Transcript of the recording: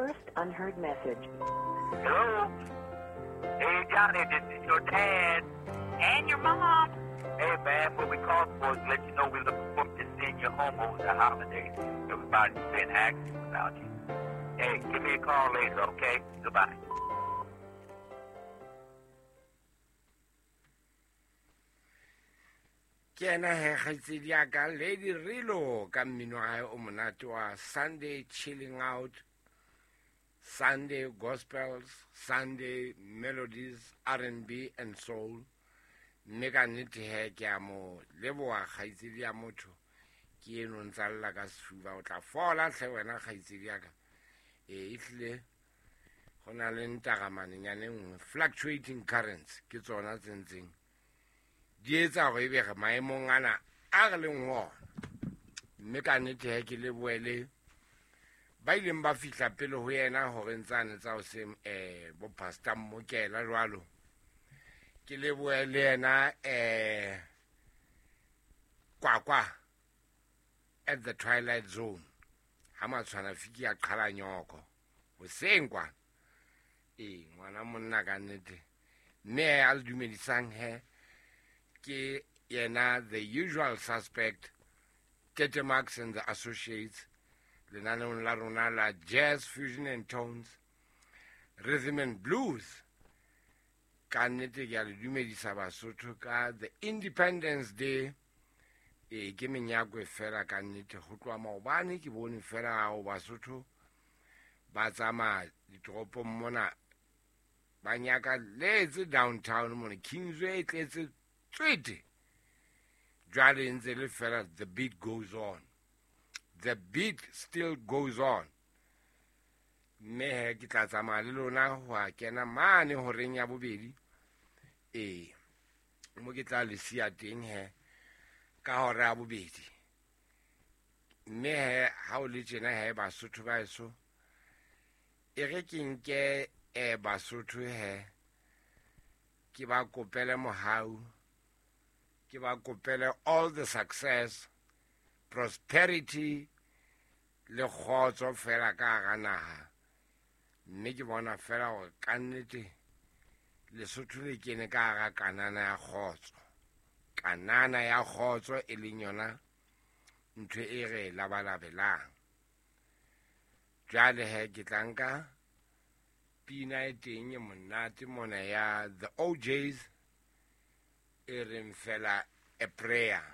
first unheard message. Hello? Hey, Johnny, this is your dad. And your mom. Hey, man, what we called for is to let you know we're looking forward to seeing you home over the holidays. Everybody's been asking about you. Hey, give me a call later, okay? Goodbye. Ke ena he kgaitsedi ya ka Lady Rilo ka mmino wa hae o monate wa Sunday Chilling Out, Sunday Gospels, Sunday Melodies, R&B and Soul. Mme ka nnete he ke a mo leboha kgaitsedi ya motho ke eno ntsa lla ka sefuba o tla fola tlhe wena kgaitsedi ya ka. E ehlile go na le ntagamanennyane nngwe fluctuating currents ke tsona tse ntseng di etsa gore ebe re maemong ana a re leng ho ona. Mme ka nnete he ke lebohele ba ileng ba fihla pele ho yena hore ntsane tsa hoseng bo Pastor Mmokela jwalo. Ke lebohe le yena Kwakwa at the Twilight Zone ha matshwana fiki a qhala nyoko hoseng kwana. Ee, ngwana monna ka nnete. Mme a le dumedisang he ke yena the usual suspect Tete Max and the Associates lenaneong la rona la Jazz Fusion and Tones, Rhythm and Blues. Ka nnete ke a le dumedisa Basotho ka the Independence Day. E ke menyakwe fela ka nnete ho tloha maobane ke bone fela hao Basotho ba tsamaya ditoropong mona ba nyaka letse downtown mona Kingsway e tletse tswete. Jwale ntse le fela the beat goes on. The beat still goes on. Mme he ke tla tsamaya le lona ho a kena mane horeng ya bobedi. Ee, mo ke tla le siya teng he ka hora ya bobedi. Mme he ha o le tjena he Basotho ba heso, e re ke nke Basotho he ke ba kopele mohau, ke ba kopele all the success, prosperity le kgotso fela ka hara naha. Mme ke bona fela hore ka nnete Lesotho le kene ka hara kanana ya kgotso. Kanana ya kgotso e leng yona ntho e re labalabelang. Jwale he ke tla nka pina e teng e monate mona ya The OJs e reng fela a prayer.